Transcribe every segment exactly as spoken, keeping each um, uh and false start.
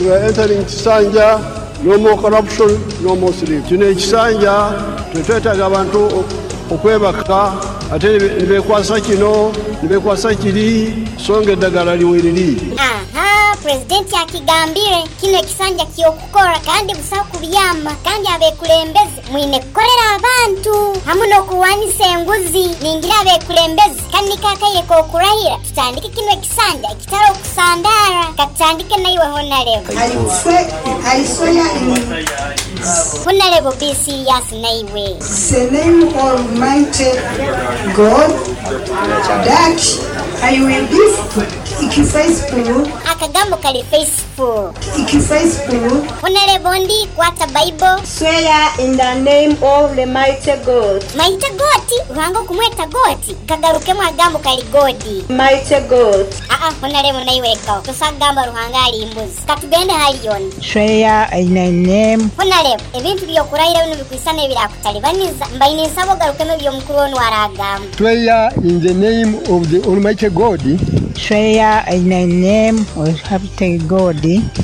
We are entering Kisanja, no more corruption, no more sleep. Kino ekisanja tetwetaaga abantu okwebaka ate nibekwasa kino nibekwasa kiri songa eddagala liweriri. Aha, pulezidenti akigambire kino ekisanja ky'okukora kandi busaho kubyama kandi abekulembeze mwine kukorera abantu hamu n'okurwanisa enguzi. Ningira abekulembeze kandi kakaire k'okurahira tutandike kino ekisanja ekitari okusandara katutandike naiwe honarebo. I swear, I swear in Honarebo, be serious naiwe. The name of Almighty God that I will be faithful, Akagambo kali faithful. Faithful, Honarebo, ndi kwata Bible. Swear in the name of the mighty God, Maite goti ruhanga okumweta goti kagarukemu agambo kali godi. Mighty God. Aa, honarebo, naiwekaho tosagamba Ruhanga ali mbuzi. Katugende haliyoni. Swear in the name Honarebo, ebintu byokurahira bino bikwisana ebirakutalibaniza mbaine nsaba ogarukemu ebyomukuru onu aragamba. Swear in the name of the Almighty God Swear in the name of Almighty God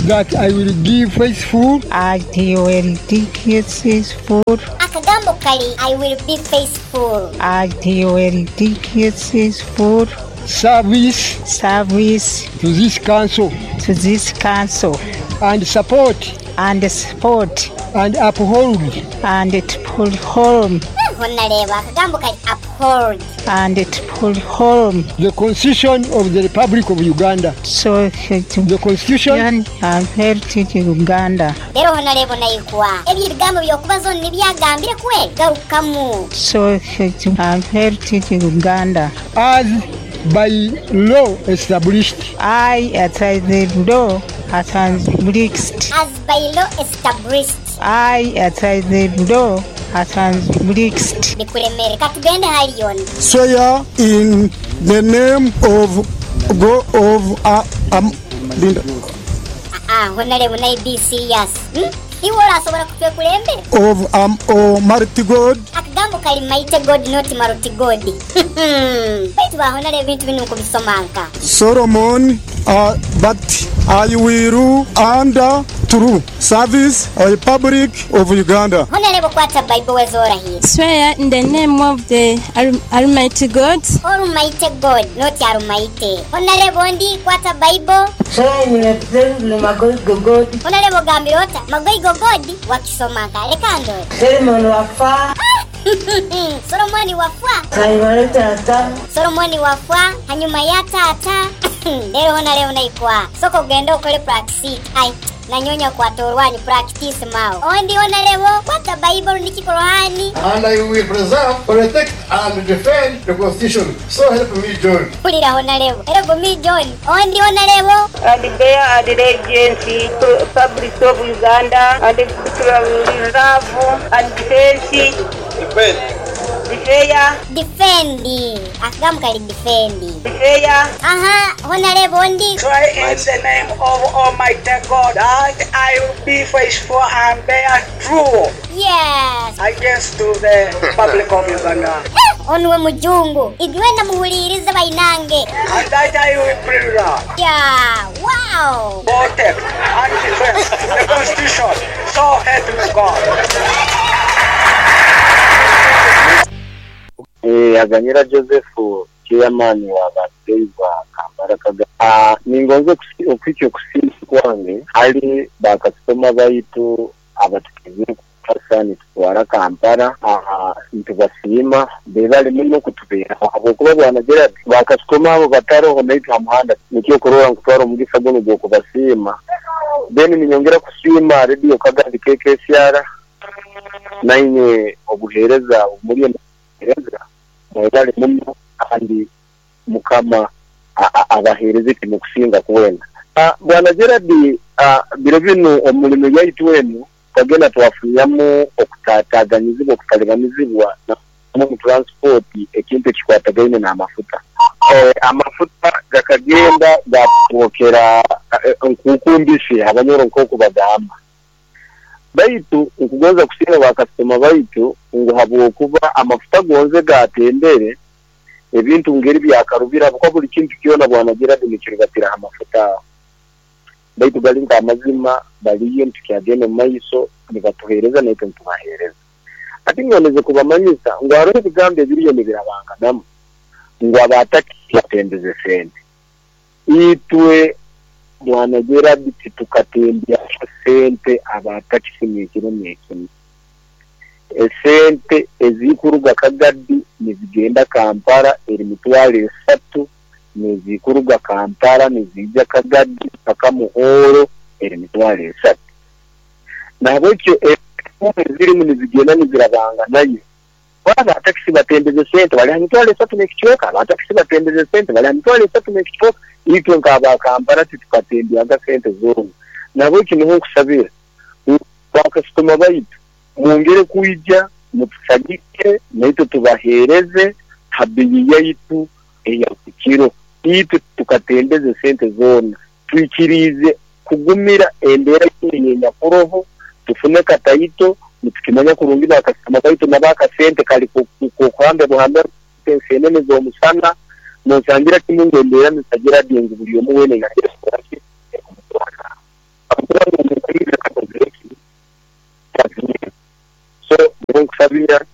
that I will give faithful I will be faithful Akagambo kali "I will be faithful." I will be faithful service service to this council to this council and support and support and uphold and uphold Honarebo, akagambo kali uphold and uphold the Constitution of the Republic of Uganda. So The Constitution and heritage Uganda. Rero honarebo, naikuwa ebyo ebigambo byokubaza onu nibyagambire kweli garukamu. So and heritage Uganda as by law established. I at the law established. As by law established. I at the law established. Bikuremere katugende haliyoni. Swear in the name of God of uh, um, Linda, Aa, honarebo, naye be serious, hmm? Iwe orasobora kutwekulembera of um, Almighty God Akagambo kali mighty God, not maruti God. Baitu bahonare ebintu bino nkubisomanka. Solomon, uh, but I will under true service a Republic of Uganda. Honarebo, kwata Bible wezorahira. Swear in the name of the Al- Almighty God, Almighty God, not Almighty. Honarebo, ndi kwata Bible. Swear in the Magoigo God, Honarebo, gambira ota magoigo God wakisomanka leka ndore. Solomon Wafa, Solomoni wafwa. Hanyuma Tata, Solomoni wafwa hanyuma ya tata. Rero honarebo, naikwa soko genda okole practice ai nanyonya kwata orwanyu practice mao ondi. Honarebo, kwata Bible nikikorohani. And I will preserve, protect, and defend the Constitution. So help me John. Pulira honarebo, help me John. Ondi honarebo. And bear allegiance to Republic of Uganda and love and defense, Defend. Defend, Defend, akagambo kali defend. Defend. Aha, honarebo, ndi. Swear in the name of Almighty God that I will be faithful and bear true yes against to the Republic of Uganda. Onuwe mujungu idwenda muhulirize bainange. And that I will preserve, Yeah, wow. Protect, and defend the Constitution. So help me God. Eh, Aganyira Joseph, chairman wa badriver Kampala Kaga. Ah, ningonze okwikya okusiima kwange hali bakasitoma baitu abatukize kasa nitutwara Kampala. Ah, ntubasiima bebali muno kutubeeraho habwokuba bwana Gerard bakasitoma abo bataroho naitwe ha muhanda nikyo kurora nkutwara omugisa guno gw'okubasiima. Then ninyongera kusiima Radio Kagandi K K S R nainywe obuheereza omuli obuheereza mwebale muno kandi Mukama a- a- abaheereze timukusinga kwena. Ah, bwana Gerard, ah, biro bino omulimu yaitu enu twagenda twafunyamu okutataganyizibwa okutalibanizibwa mu transport ekintu ekikwatagaine n'amafuta. Eh, amafuta gakagenda gatwokera eh, nkukumbisi abanyoro nk'oku bagamba baitu nkugonza kusiima bakasitoma baitu ngu habwokuba amafuta gonze gatembere ebintu ngeri byakarubira kuko buli kintu kyona bwana Gerard nikirubatira amafuta aho. Baitu gali nk'amazima baliyo nitukyagenda omu maiso nibatuheereza naitwe nitubaheereza. Ati ngondeze kubamanyisa ngu hariho ebigambo ebiriyo nibirabanganamu ngu abatakisi batembeze sente. Itwe Bwana Gerard titukatembya sente abatakisi n'ekiro n'ekiro. Esente ezikuruga Kagadi nizigenda Kampala eri mitwaro esatu, nezikuruga Kampala nizija Kagadi paka Muhoro eri mitwaro esatu. Nahabwekyo ezirimu nizigenda nizirabanga nayo. Abatakisi batembeze sente bali ha mitwaro esatu n'ekicweka, abatakisi batembeze sente bali ha mitwaro esatu n'ekicweka. Itwe nk'aba Kampala titukatembyaga sente zoona. Nahabwekyo niho nkusabira bakasitoma baitu mwongere kuija mutusagike naitwe tubaheereze habiyi yaitu eya kiro. Itwe tukatembeze sente zoona, twikirize kugumira embeera yenyakuroho, tufune kataito nitukimanya kurungi bakasitoma baitu nabakasente kali kuhambe buhambe ensenene z'omusana nosangira kimwe ngu embeera nitagira ngu buli omu weena yagira so nkusabira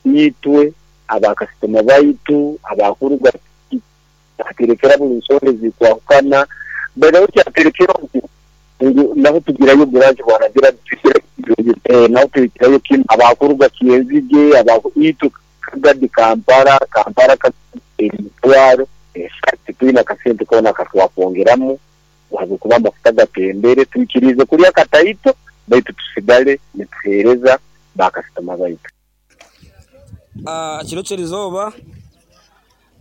itwe abakasitoma baitu abakuruga aterekera buli nsonga ezikwahukana badaho kyaterekera ngu naho tugirayo branch Bwana Gerard naho tugirayo kim abakuruga Kyenzige abaku itwe Kagadi Kampala Kampala emitwaro esatu twina kasente kona katwakwongeramu habwokuba amafuta gatembere. Twikirize kulya kataito baitu tusigale nituheereza bakasitoma baitu. Ah, kiro ky'erizooba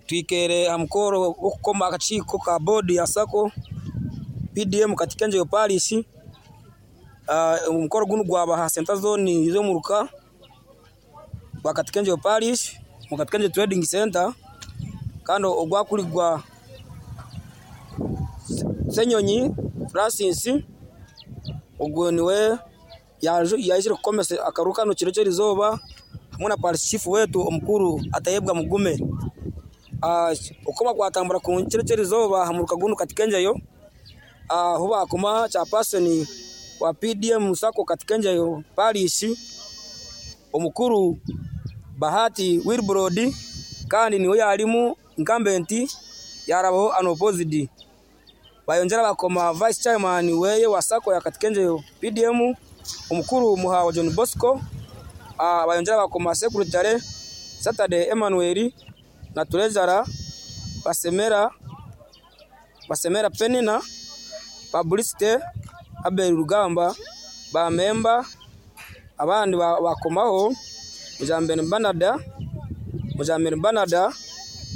twikere aha mukoro gw'okukoma akakiiko ka boodi ya SACCO P D M Katikenjeyo Parish. Ah, omukoro gunu gwaba ha center zone y'omuruka gwa Katikenjeyo Parish mu Katikenjeyo Trading Center, kandi ogwakuligwa Senyonyi Francis ogwo niwe yaizire kukomesa akaruka no kiro ky'erizooba hamwe na parish chief wetu omukuru Atayebwa Mugume. Ah, okoma kwatambura ku kiro ky'erizooba hamuruka gunu Katikenjeyo aho bakoma chairperson wa P D M SACCO Katikenjeyo Parish omukuru Bahati Wilbrod, kandi niwe yalimu incumbent yarabaho unopposed. Bayongera bakoma vice chairman weye wa SACCO ya Katikenjeyo P D M omukuru Muhawa John Bosco. Ah, bayongera bakoma secretary Saturday Emmanuel na treasurer Basemera Basemera Penina, publicity Abel Rugamba, ba member abandi bakomaho Mujambere Banada Mujambere Banada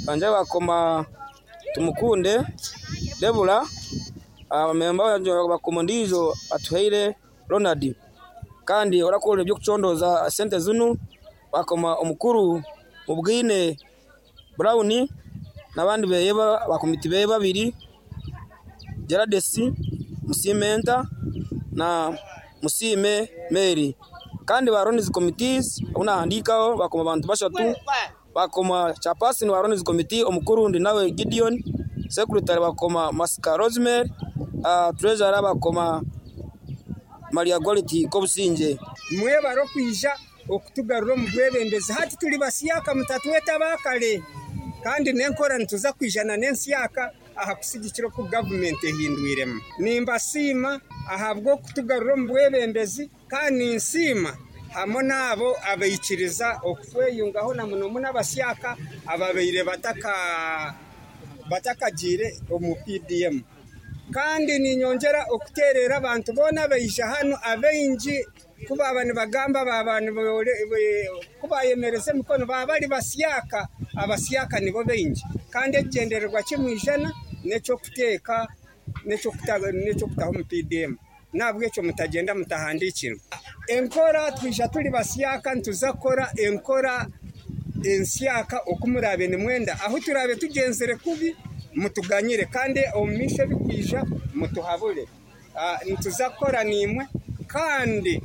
banje bakoma Tumukunde Debula, abamemba bakoma ndizo Atuheire Ronald, kandi orakora ebyo kuchondoza sente zinu bakoma omukuru Mubwine Brown nabandi beyeba bakomiti beye babiri Gerardesi Musimenta na Musime Mary, kandi ba Ron's committees unahandikaho bakoma abantu bashatu bakoma chairperson wa Ron's committee omukuru ndi nawe Gideon, secretary bakoma Masika Rosemary, uh, treasurer bakoma Maria Quality Kobusinje. Mwebare okwija okutugarura omu bwebembezi. Hati tuli basiyaka mutatweta bakale kandi n'enkora nituza kwijana n'ensiyaka aha kusigikira oku gavumenti ehindwiremu. Nimbasiima ahabw'okutugarura omu bwebembezi kandi ninsiima hamwe n'abo abaikiriza okutweyungaho na muno muno abasiyaka ababaire bataka batakagiire omu P D M. Kandi ninyongera okuterera abantu boona baija hano abaingi kuba nibagamba baba kubayemereza emikono baba bari basiyaka abasiyaka nibo baingi, kandi ekigyendererwa kimwijana n'ekyokuteeka n'ekyokutaho omu P D M. Nabwekyo mutagenda mutahandikirwe enkora. Twija turi basiyaka nituza kukora enkora ensyaka okumurabe nimwenda aho turabe tugenzere kubi mutuganyire, kandi omu maisho ebikwija mutuhabure. Nituza kukora nimwe kandi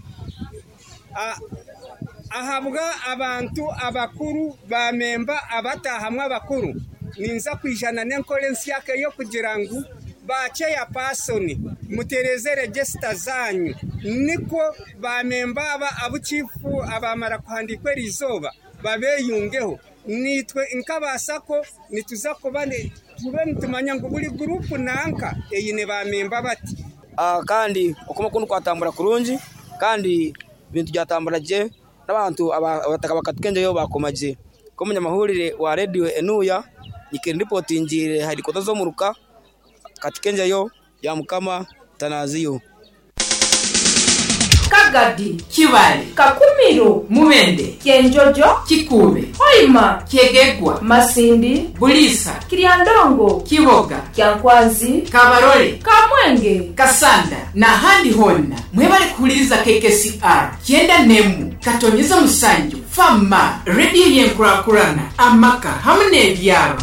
ahabwa abantu abakuru bamemba abatahamwe abakuru ninza kwijana n'enkora ensyaka eyo kugira ngu bacheya pasoni Mutereze register zanyu, niko bamemba aba abuchifu abamara kuhandikwa erizoba babeyungeho. Nitwe nk'abasako nituza kuba tube nitumanya ngu buri gurupu nanka eyine bamemba bati. Uh, kandi okuma kundu kwatambura kurungi kandi bintu byatambura je n'abantu abataka bakatukenjeyo bakomaje. Ko munyamahurire wa radio Enuya nikiri reportingire hari koto zo muruka katukenjeyo ya Mukama Tanaziyo. Kagadi, Kibale, Kakumiro, Mubende, Kyenjojo, Kikube, Hoima, Kyegegwa, Masindi, Bulisa, Kiryandongo, Kiboga, Kyankwanzi, Kabarole, Kamwenge, Kasanda n'ahandi honna. Mwebale kuhuliriza K K C R kyenda nemu katonyeza musanju fama rediyo yenkurakurana amaka hamwe n'ebyaro.